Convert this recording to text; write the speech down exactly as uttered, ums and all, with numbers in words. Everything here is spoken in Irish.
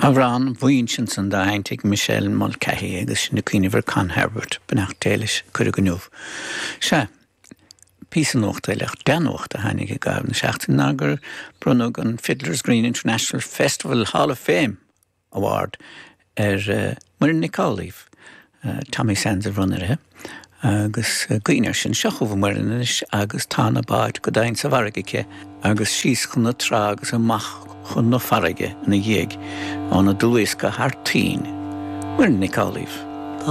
Amhrán bhain sin san d'aintigh Michelle Mulcahy agus sin na cuiohar Con Herbert beannacht Dé leis cuireadh inniu. Sea píosa nuachta leach deanuachta tháinig i gcaitheamh na seachtaine ná gur bronnadh an Fiddler's Green International Festival Hall of Fame Award ar uh, Muireann Nic Amhlaoibh, uh, Tommy Sands a bhronn uirthi. agus uh, gaoine sin seo chugainn Muireann anois agus tá na báid go domhain sa bhfarraige aici agus síos chun na trá agus amach chun na farraige ina dhiaidh óna dlúsca thar toinn. Muireann Nic Amhlaoibh.